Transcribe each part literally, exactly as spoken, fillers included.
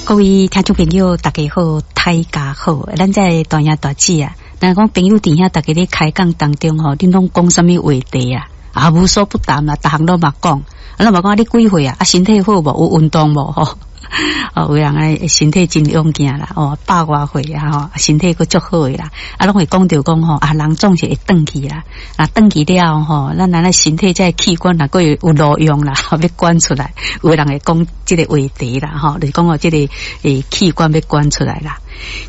各位聽眾朋友，大家好，大家好，咱這大兄大姊啊，若講朋友佇遐，大家咧開講當中吼，恁攏講啥物話題啊？啊，無所不談啦，逐項攏嘛講，啊，攏嘛講啊，你幾歲啊？啊，身體好無？有運動無？吼，哦，有人愛身體真勇健啦，哦，百外歲啊，吼，身體閣足好的啦，啊，攏會講著講吼，啊，人總是會轉去啦，啊，轉去了吼，咱咱的身體這个器官若閣會有路用啦，欲捐出來，有人會講這个話題啦，吼，就是講哦，這个欸器官欲捐出來啦。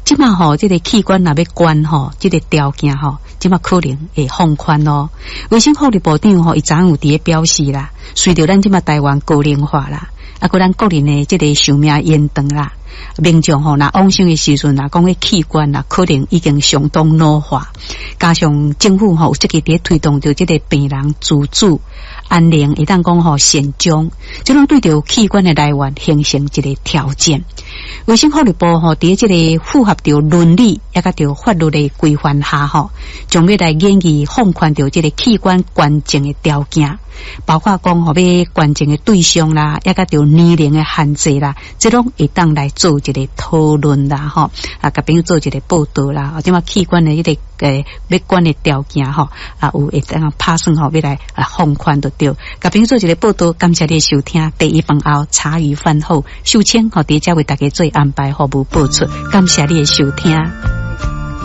這馬吼，這个器官若欲捐吼，這个條件吼，這馬可能會放寬咯。衛生福利部長吼，伊昨昏有佇咧表示啦，隨著咱這馬台灣高齡化啦，啊，閣咱國人的這个壽命延長啦，民眾吼，若往生的時陣，若講彼器官啦，可能已經相當老化，加上政府吼有積極佇咧推動著這个病人自主安寧，會當講吼善終，這攏對著器官的來源形成一个挑戰。衛生福利部吼，佇這个符合著倫理，抑佮著法律的規範下吼，將欲來研議放寬著這个器官捐贈的條件，包括講吼欲捐贈的對象啦，抑佮著年齡的限制啦，這攏會當來做一个討論啦，吼啊，共朋友做一个報道啦，啊，這馬器官的彼个欸欲捐的條件吼，啊，有會當拍算吼欲來啊放寬就對，共朋友做一个報道，感謝你的收聽。第一飯後茶餘飯後，秀清吼佇遮為大家做安排服務播出，感謝你的收聽。